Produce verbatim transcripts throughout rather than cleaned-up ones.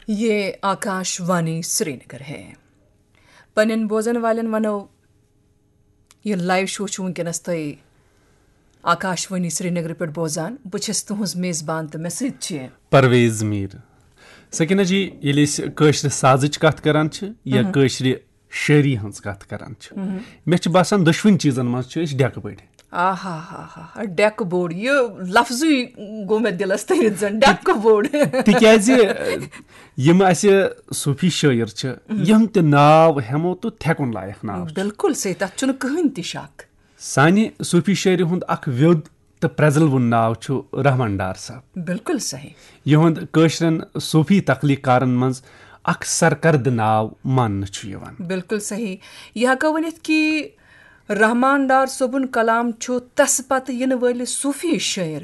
یہ آکاش وانی سرینگر ہے۔ پننٮ۪ن بوزن والٮ۪ن ونو، یہ لائیو شو چھُ وٕنکیٚنس تۄہہِ آکاش وانی سرینگر پٮ۪ٹھ بوزان۔ بہٕ چھَس تُہنٛز میزبان تہٕ مےٚ سۭتۍ چھِ پرویز میر۔ سکینہ جی، ییٚلہِ أسۍ کٲشرِ سازٕچ کتھ کران چھِ یا کٲشرِ شٲعری ہٕنٛز کتھ کران چھِ، مےٚ چھُ باسان دۄشوٕنی چیٖزن منٛز چھِ أسۍ ڈٮ۪کہٕ بٔڑۍ۔ آہا ہا ہا ہا، ڈٮ۪کہٕ بوٚڑ، یہِ لفظٕے گوٚو مےٚ دِلس تٔرِتھ زن ڈٮ۪کہٕ بوٚڑ۔ تِکیازِ یِم اسہِ صوٗفی شٲعر چھِ، یِم تہِ ناو ہٮ۪مو تہٕ تھٮ۪کُن لایق ناو چھِ۔ بالکل صحیح، تتھ چھُنہٕ کٕہٕنۍ تہِ شک۔ سانہِ صوٗفی شٲعری ہُنٛد اکھ ویوٚد تہٕ پرٛزلوُن ناو چھُ رحمان ڈار صٲب۔ بالکل صحیح۔ یِہُنٛد کٲشرٮ۪ن صوٗفی تخلیٖق کارن منٛز اکھ سرکردٕ ناو ماننہٕ چھُ یِوان۔ بالکل صحیح۔ یہِ ہٮ۪کو ؤنِتھ کہِ رحمان ڈار صٲبُن کلام چھُ تس پتہٕ یِنہٕ وٲلِس صوٗفی شٲعر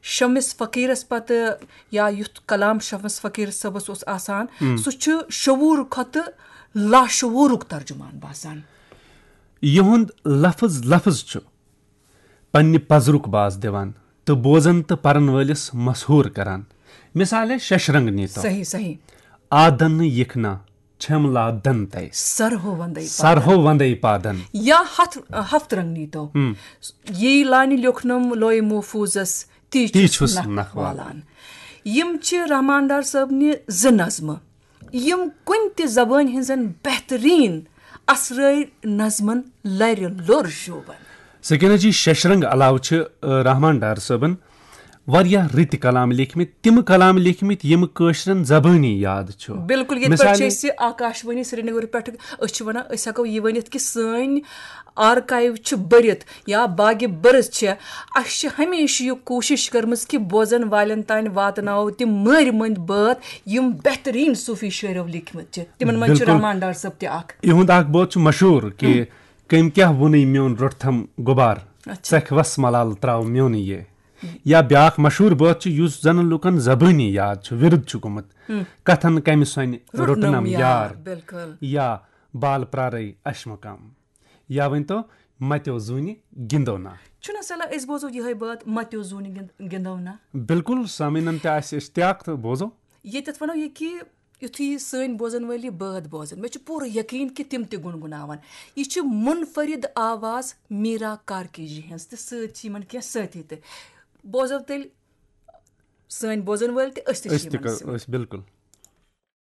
شمس فقیرس پتہٕ، یا یُتھ کلام شمس فقیر صٲبس اوس آسان، سُہ چھُ شعوٗر کھۄتہٕ لاشعوٗرُک ترجمان باسان۔ یِہُنٛد لفظ لفظ چھُ پننہِ پزرُک باس دِوان تہٕ بوزن تہٕ پرن وٲلِس مسحوٗر کران۔ مثالے ششرنگ نیتو۔ صحیح، صحیح۔ آدن یکھنا چھم لا دن تَے۔ سرہو وندے پادن۔ سرہو وندے پادن۔ یا ہتھ، ہفت رنگ نیتو۔ یی لانہِ لیوکھنم لوے محفوظس، تی تی چھُس چھُس نکھ نکھ والان۔ والان۔ یِم چھِ رحمان ڈار صٲبنہِ زٕ نظمہٕ، یِم کُنہِ تہِ زبٲنۍ ہٕنٛزن بہتریٖن اثرٲوۍ نظمن لرِ لوٚر شوٗبن۔ سکینہ جی، ششرنگ علاوٕ چھِ، آ، رحمان ڈار صٲبن واریاہ رٕتۍ کلام لیکھمٕتۍ، تِم کلام لیکھمٕتۍ یِم کٲشرٮ۪ن زبٲنی یاد چھُ۔ بالکل، ییٚتہِ پٮ۪ٹھ چھِ مثالے أسۍ آکاش وانی سرینگر پٮ۪ٹھ، أسۍ چھِ ونان، أسۍ ہٮ۪کو یہِ ؤنِتھ کہِ سٲنۍ آرکایو چھِ بٔرِتھ یا باغِ برٕژ چھِ۔ اسہِ چھِ ہمیشہِ یہِ کوٗشِش کٔرمٕژ کہِ بوزن والٮ۪ن تام واتناوو تِم مٲرۍ مٔنٛدۍ بٲتھ، یِم بہتریٖن صوٗفی شٲعرو لیکھمٕتۍ چھِ۔ تِمن منٛز چھُ بالکل۔ رحمان ڈار صٲب تہِ اکھ۔ یِہُنٛد اکھ بٲتھ چھُ مشہوٗر کہِ، "کٔمۍ کیٛاہ ووٚنُے میون روٚٹھم غُبار، اچھا۔ ژکھ وس ملال تراو میونٕے یے۔" یا بیٛاکھ مشہوٗر بٲتھ چھُ یُس زن لُکن زبٲنی یاد چھُ، ورد چھُ گوٚمُت، "کتھن کمہِ سۄنہِ روٚٹنم روٚٹنم یار۔" یار۔ بالکل۔ یا "بال پرارے اشمہٕ کم۔" یا ؤنۍ تو، "متیو زوٗنہِ گِنٛدو نا۔" چھُنہ سہلٕے، أسۍ بوزو یِہوٚے بٲتھ، "متیو زوٗنہِ گِنٛد-، گِنٛدو نا۔" بالکل، سامعیٖنن تہِ آسہِ اشتیاق تہٕ بوزو۔ ییٚتٮ۪تھ ونو یہِ کہِ یُتھُے سٲنۍ بوزن وٲلۍ یہِ بٲتھ بوزن، مےٚ چھُ پوٗرٕ یقیٖن کہِ تِم تہِ گُنگُناون۔ یہِ چھِ منفرد آواز میٖرا کارکی جی ہٕنٛز تہٕ سۭتۍ چھِ یِمن کینٛہہ سٲتھی تہِ۔ بوزو تیٚلہِ سٲنۍ بوزن وٲلۍ تہِ، أسۍ تہِ چھِ أسۍ تہِ یِمن کر-، سۭتۍ۔ أسۍ بالکل۔